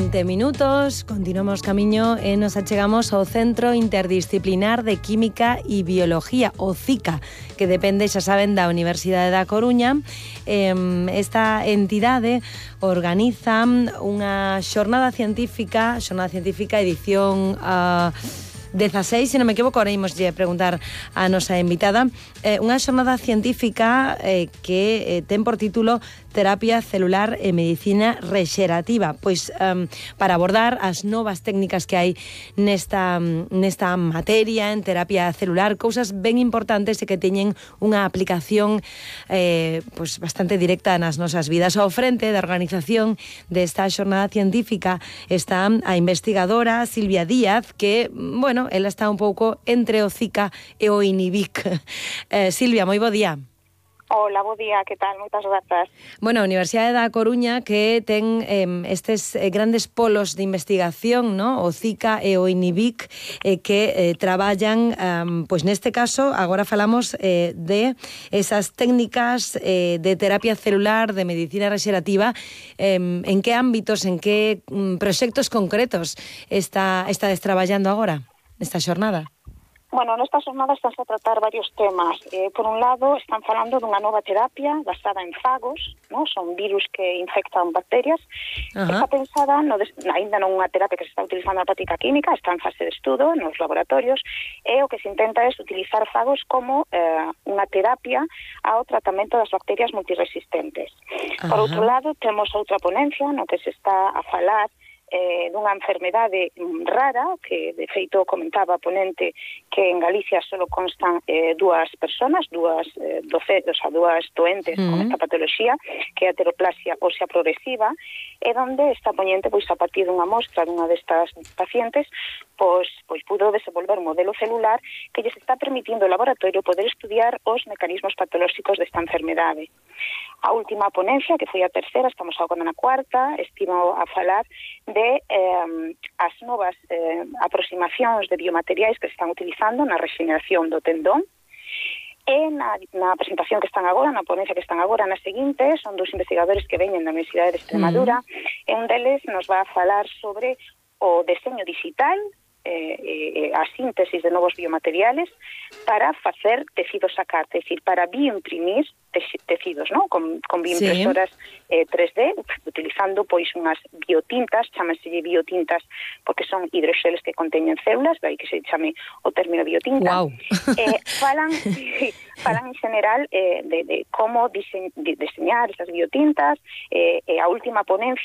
20 minutos, continuamos camiño e nos achegamos ao Centro Interdisciplinar de Química e Biología, o CICA, que depende, xa saben, da Universidade da Coruña. Esta entidade organiza unha xornada científica edición 16, se non me equivoco, ahora imos preguntar a nosa invitada, unha xornada científica que ten por título Terapia celular e medicina rexerativa, pois para abordar as novas técnicas que hai nesta materia, en terapia celular, cousas ben importantes e que teñen unha aplicación pois bastante directa nas nosas vidas. Ao frente da organización desta xornada científica está a investigadora Silvia Díaz, que, bueno, ela está un pouco entre o CICA e o INIBIC. Silvia, moi bo día. Hola, bo día, que tal? Moitas grazas. Bueno, a Universidade da Coruña que ten estes grandes polos de investigación, ¿no? O CICA e o INIBIC, que traballan, pois neste caso, agora falamos de esas técnicas de terapia celular, de medicina rexerativa. En que ámbitos, en que proxectos concretos estades traballando agora, nesta xornada? Bueno, nesta xornada están a tratar varios temas. Por un lado, están falando dunha nova terapia basada en fagos, ¿no? Son virus que infectan bacterias. Está pensada, ainda non unha terapia que se está utilizando na práctica química, está en fase de estudo nos laboratorios, e o que se intenta é utilizar fagos como unha terapia ao tratamento das bacterias multiresistentes. Por outro lado, temos outra ponencia no que se está a falar dunha enfermedade rara, que de feito comentaba a ponente que en Galicia solo constan dúas persoas, dúas doentes con esta patoloxía, que é a heteroplasia ósea progresiva, e donde esta ponente, pois a partir dunha mostra dunha destas pacientes, pois pudo desenvolver un modelo celular que lles está permitindo ao laboratorio poder estudiar os mecanismos patolóxicos desta enfermedade. A última ponencia, que foi a terceira, estamos agora na cuarta, estimo a falar de as novas aproximacións de biomateriais que se están utilizando na regeneración do tendón. E na presentación que están agora, na ponencia que están agora, na seguinte, son dos investigadores que veñen da Universidade de Extremadura, e un deles nos va a falar sobre o deseño digital, a síntesis de novos biomateriales para facer tecidos a carta, é dicir, para bioimprimir tecidos, ¿no? Con bioimpresoras 3D, utilizando pois unhas biotintas, chámanse biotintas porque son hidroxeles que conteñen células, daí que se chame o término biotinta. Wow. Falan en general de como diseñar esas biotintas. A última ponencia